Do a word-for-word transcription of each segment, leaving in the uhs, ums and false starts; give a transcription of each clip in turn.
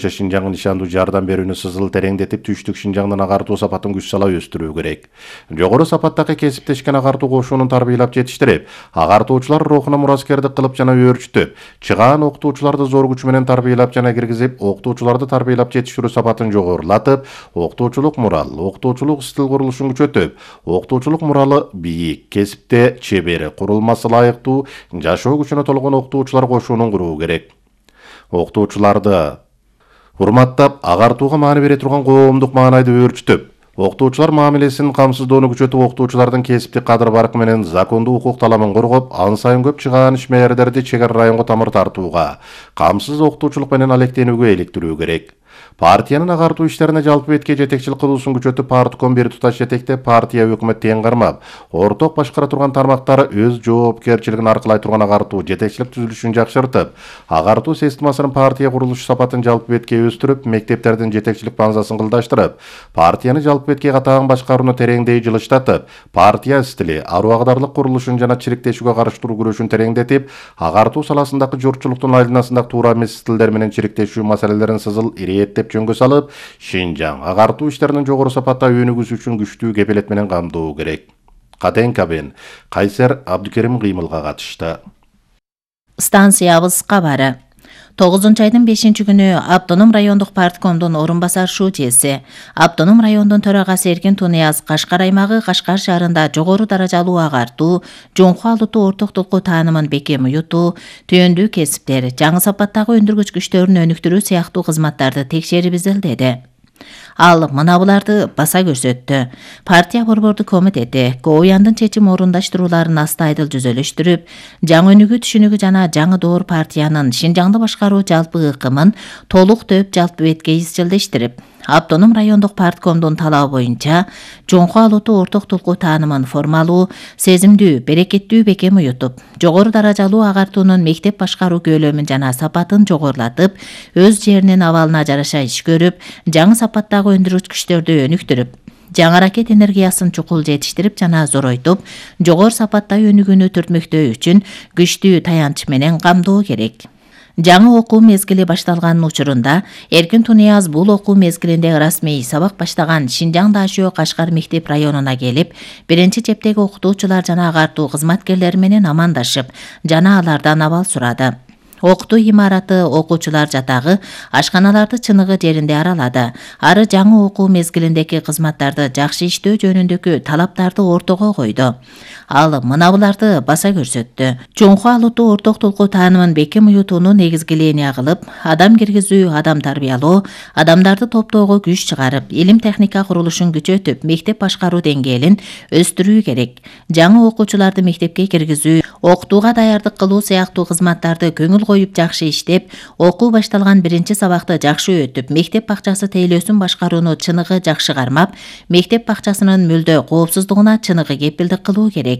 Шинжаңдын нишандуу жардам берүүнү сызыл тереңдетип, түштүк Шинжаңдын агартуу сапатын күч сала өстүрүү керек. Жогору сапаттагы кесиптешкен агартуу кошунун тарбиялап жетиштирип, агартуучулар рухуна мураскердик кылып жана өөрчүтүп, чыгаан окутуучуларды зор күч менен тарбиялап жана киргизип, окутуучуларды тарбиялап жетиштирүү сапатын жогорулатып, окутуучулук мурал, окутуучулук стил курулушун күчөтүп, окутуучулук муралы бийик, кесипте чебер, курулмасы ылайыктуу, жашоо күчүнө толгон окутуучулар кошунун куруу керек. Окутуучуларды урматтап, агартууга маани бере турган коомдук маанайды өөрчүтүп, окутуучулар мамилесин камсыздоону күчөтүп, окутуучулардын кесиптик кадыр баркы менен закондуу укук таламын коргоп, ан сайын көп чыгаан ишмерлерди чек ара районго тамыр тартууга, камсыз окутуучулук менен алектенүүгө иликтирүү керек. Партиянын агартуу иштерине жалпы бетке жетекчилик кылуусун күчөтүп, партком бир туташ жетектеп, партия өкмөт тең кармап, орток башкара турган тармактары өз жоопкерчилигин аркылай турган агартуу жетекчилик түзүлүшүн жакшыртып, агартуу системасынын партия курулуш сапатын жалпы бетке өстүрүп, мектептердин жетекчилик базасын кылдаштырып, партияны жалпы бетке катаан башкарууну тереңдей жылыштатып, партия стили, аруу агдарлык курулушун жана чириктешүүгө каршы туруу күрөшүн тереңдетип, агартуу саласындагы журтчулуктун айланасындагы туура эмес стилдер менен чириктешүү маселелерин сызыл ирэттеп жөнгө салып, Шинжаң агартуу иштеринин жогору сапатта өнүгүүсү үчүн күчтүү кепилет менен камдоо керек. Катенкабен Кайсер Абдыкерим кыймылга катышты. Станциябыз кабары. тогузунчу айдын бешинчи күнү Автоном райондук парткомдун орун басар шүүчеси, Автоном райондун төрагасы Эркин Тунияз Кашкар аймагы Кашкар шаарында жогору даражалуу агартуу, жоңку алутуу орток толку таанымын бекем уютуу, түйөндүү кесиптер, жаңы сапаттагы өндүргүч күчтөрүн өнүктүрүү сыяктуу кызматтарды текшерип изилдеди. Ал мына буларды баса көрсөттү. Партия борбордук комитети Коуяндын чечим орундаштырууларын астайдыл жүзөлөштүрүп, жаңы өнүгүү түшүнүгү жана жаңы доор партиянын Шинжаңды башкаруу жалпы ыкымын толук төп жалпы бетке изчилдештирип, Автоном райондук парткомдун талабы боюнча жоңку алутуу орток толку таанымын формалуу, сезимдүү, берекеттүү бекем уютуп, жогору даражалуу агартуунун мектеп башкаруу көлөмүн жана сапатын жогорулатып, өз жеринин абалына жараша иш көрүп, жаңы сапаттагы өндүргүч күчтөрдү өнүктүрүп, жаңы ракет энергиясын чукул жетиштирип жана зоройтуп, жогору сапатта өнүгүүнү түртмөктөө үчүн күчтүү таянч менен камдоо керек. Жаңы окуу мезгили башталганын учурунда Эркин Тунияз бул окуу мезгилинде расмий сабак баштаган Шинжаң Дашөө Кашкар мектеп районуна келип, биринчи чептеги окутуучулар жана агартуу кызматкерлери менен амандашып, жана алардан абал сурады. Окутуу имараты, окуучулар жатагы, ашканаларды чыныгы жеринде аралады. Ары жаңы окуу мезгилиндеги кызматтарды жакшы иштөө жөнүндөгү талаптарды ортого койду. Ал мына буларды баса көрсөттү. Жоңку алутуу орток толку таанымын бекем уютууну негизги линия кылып, адам киргизүү, адам тарбиялоо, адамдарды топтоого күч чыгарып, илим техника курулушун күчөтүп, мектеп башкаруу деңгээлин өстүрүү керек. Жаңы окуучуларды мектепке киргизүү, окутууга даярдык кылуу сыяктуу кызматтарды көңүл коюп жакшы иштеп, окуу башталган биринчи сабакты жакшы өтүп, мектеп бакчасы тейлөөсүн башкарууну чыныгы жакшы кармап, мектеп бакчасынын мүлдө коопсуздугуна чыныгы кепилдик кылуу керек.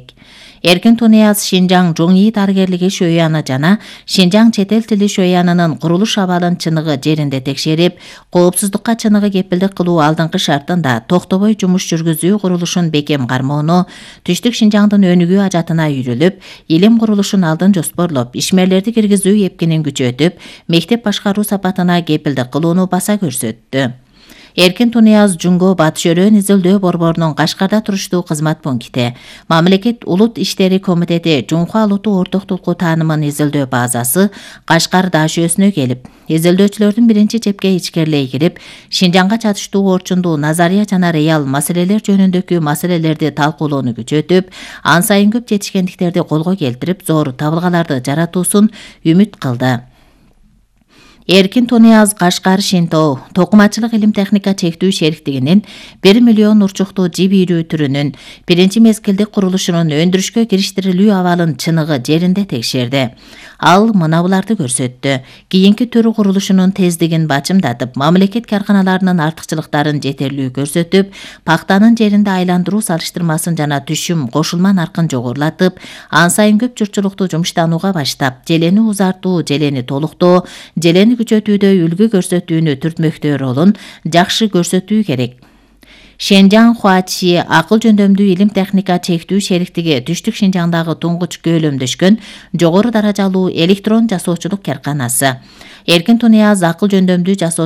Эркин Тунияз Шинжаң жоң ии дарыгерлиги шөйяны жана Шинжаң чет эл тили шөйянынын курулуш абалын чыныгы жеринде текшерип, коопсуздукка чыныгы кепилдик кылуу алдыңкы шартында токтобой жумуш жүргүзүү курулушун бекем кармоону, түштүк Шинжаңдын өнүгүү ажатына үйрүлүп, илим курулушун алдын жоспорлоп, ишмерлерди киргизүү эпкинин күчөтүп, мектеп башкаруу сапатына кепилдик кылууну баса көрсөттү. Эркин Тунияз Жунго Батыш Өрөөн изилдөө борборунун Кашкарда туруштуу кызмат пункти, Мамлекет улут иштери комитети жоңку алутуу орток толку таанымын изилдөө базасы Кашкар Дашөөсүнө келип, изилдөөчүлөрдүн биринчи чепке ичкерлей кирип, Шинжаңга чатыштуу орчундуу назария жана реал маселелер жөнүндөгү маселелерди талкуулоону күчөтүп, ан сайын көп жетишкендиктерди колго келтирип, зор табылгаларды жаратуусун үмүт кылды. Эркин Тунияз Кашкар Шинтоо токумачылык илим техника чектүү шериктигинин бир миллион урчуктуу жип ийрүү түрүнүн биринчи мезгилдик курулушунун өндүрүшкө кириштирилүү абалын чыныгы жеринде текшерди. Ал мына буларды көрсөттү. Кийинки түрү курулушунун тездигин бачымдатып, мамлекет карканаларынын артыкчылыктарын жетерлүү көрсөтүп, пактанын жеринде айландыруу салыштырмасын жана түшүм кошулма наркын жогорулатып, ан сайын көп журтчулукту жумуштанууга баштап, желени узартуу, желени толуктоо, желени күчөтүүдө үлгү көрсөтүүнү түртмөктөө ролун жакшы көрсөтүү керек. Шинжаң Хуачи акыл жөндөмдүү илим техника чектүү шериктиги түштүк Шинжаңдагы туңгуч көөлөмдөшкөн жогору даражалуу электрон жасоочулук карканасы. Эркин Тунияз акыл жөндөмдүү жасоочу